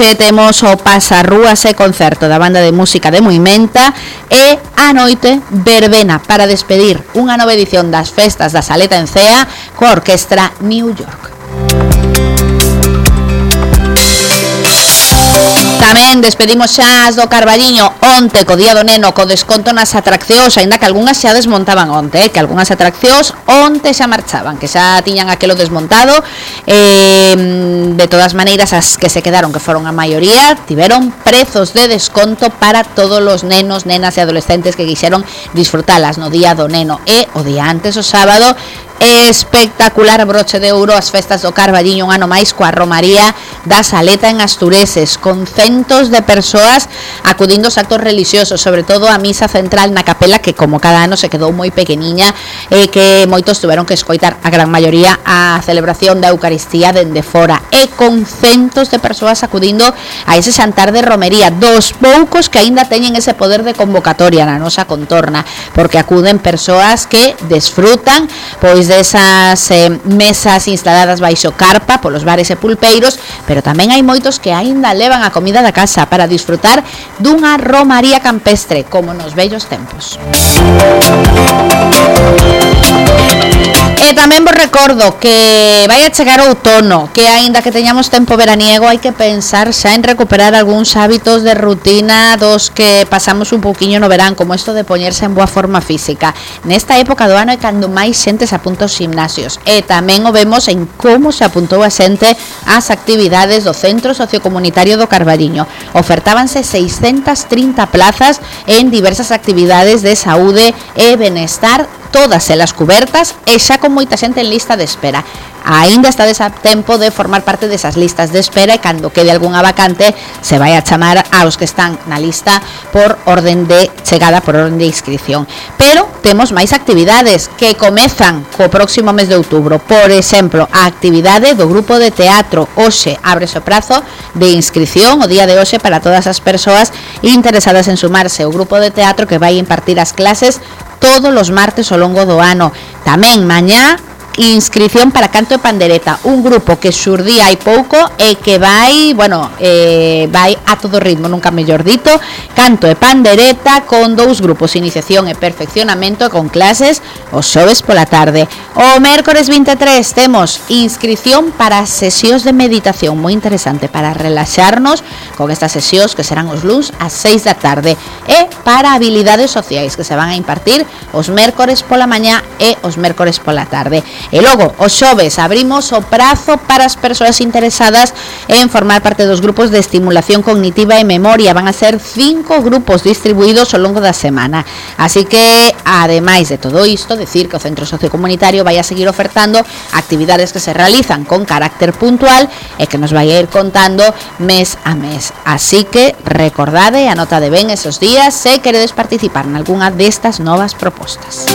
tarde temos o Pasarrúas e concerto da banda de música de Moimenta e a noite verbena para despedir unha nova edición das festas da Saleta en Cea coa orquestra New York. Tamén despedimos xa as do Carballiño onte co Día do Neno co desconto nas atraccións, aínda que algunhas xa desmontaban onte, que algunhas atraccións onte xa marchaban, que xa tiñan aquelo desmontado. De todas maneiras, as que se quedaron, que foron a maioría, tiveron prezos de desconto para todos os nenos, nenas e adolescentes que quixeron disfrutalas no Día do Neno. E o día antes, o sábado, espectacular broche de ouro as festas do Carballiño, un ano máis coa romaría da Saleta en Astureses, con centos de persoas acudindo aos actos religiosos, sobre todo a misa central na capela, que como cada ano se quedou moi pequeniña e que moitos tuveron que escoitar, a gran maioría, a celebración da Eucaristía dende fora, e con centos de persoas acudindo a ese xantar de romería, dos poucos que aínda teñen ese poder de convocatoria na nosa contorna, porque acuden persoas que desfrutan pois desas mesas instaladas baixo carpa polos bares e pulpeiros, pero tamén hai moitos que aínda levan a comida da casa para disfrutar dunha romaría campestre como nos vellos tempos. E tamén vos recordo que vai a chegar o outono, que aínda que teñamos tempo veraniego, hai que pensar xa en recuperar algúns hábitos de rutina dos que pasamos un pouquiño no verán, como isto de poñerse en boa forma física. Nesta época do ano é cando máis xente se apunta aos gimnasios, e tamén o vemos en como se apuntou a xente ás actividades do Centro Sociocomunitario do Carballiño. Ofertábanse 630 plazas en diversas actividades de saúde e benestar, todas elas cubertas e xa con moita xente en lista de espera. Aínda estades a tempo de formar parte desas listas de espera, e cando quede algunha vacante se vai a chamar aos que están na lista por orden de chegada, por orden de inscripción. Pero temos máis actividades que comezan co próximo mes de outubro. Por exemplo, a actividade do grupo de teatro. Hoxe ábrese o prazo de inscripción o día de hoxe para todas as persoas interesadas en sumarse ao grupo de teatro que vai impartir as clases todos os martes ao longo do ano. Tamén mañá inscripción para canto e pandereta, un grupo que xurdía hai pouco e que vai a todo ritmo, nunca mellor dito, canto e pandereta con dous grupos, iniciación e perfeccionamento, con clases os xoves pola tarde. O mércores 23 temos inscripción para sesións de meditación, moi interesante, para relaxarnos con estas sesións que serán os luns ás 6 da tarde, e para habilidades sociais que se van a impartir os mércores pola mañá e os mércores pola tarde. E logo, os xoves, abrimos o prazo para as persoas interesadas en formar parte dos grupos de estimulación cognitiva e memoria. Van a ser 5 grupos distribuídos ao longo da semana. Así que, ademais de todo isto, decir que o Centro Sociocomunitario vai a seguir ofertando actividades que se realizan con carácter puntual e que nos vai a ir contando mes a mes. Así que, recordade, anotade ben esos días se queredes participar en algunha destas novas propostas.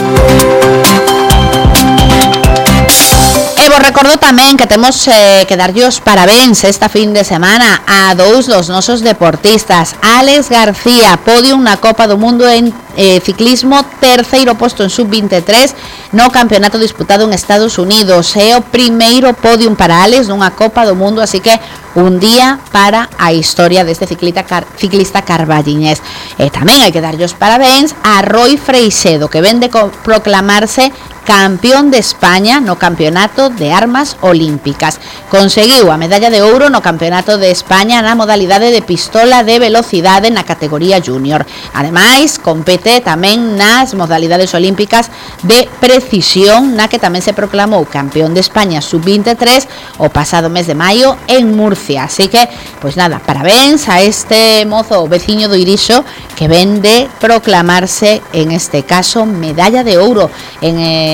E vos recordo tamén que temos que darlle os parabéns esta fin de semana a dous dos nosos deportistas. Alex García, podium na Copa do Mundo en ciclismo, terceiro posto en sub-23 no campeonato disputado en Estados Unidos. É o primeiro podium para Alex nunha Copa do Mundo, así que un día para a historia deste ciclista carballiñés. E tamén hai que darlle os parabéns a Roy Freixedo, que ven de proclamarse campeón de España no campeonato de armas olímpicas. Conseguiu a medalla de ouro no campeonato de España na modalidade de pistola de velocidade na categoría junior. Ademais, compete tamén nas modalidades olímpicas de precisión, na que tamén se proclamou campeón de España sub-23 o pasado mes de maio en Murcia. Así que, pois nada, parabéns a este mozo veciño do Irixo que ven de proclamarse, en este caso, medalla de ouro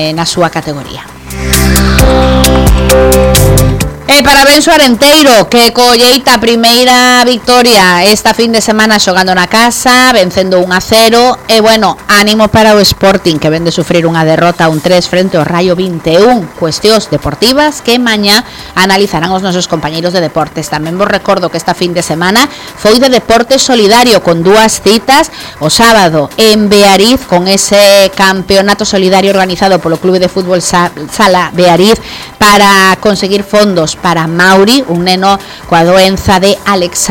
na súa categoría. E parabéns ao Arenteiro, que colleita a primeira victoria esta fin de semana xogando na casa, vencendo 1-0. E bueno, ánimo para o Sporting, que ven de sufrir unha derrota 1-3 frente ao Rayo 21. Cuestións deportivas que mañá analizarán os nosos compañeiros de deportes. Tamén vos recordo que esta fin de semana foi de deporte solidario, con dúas citas. O sábado en Beariz, con ese campeonato solidario organizado polo Clube de Fútbol Sala Beariz para conseguir fondos para Mauri, un neno coa doenza de Alexander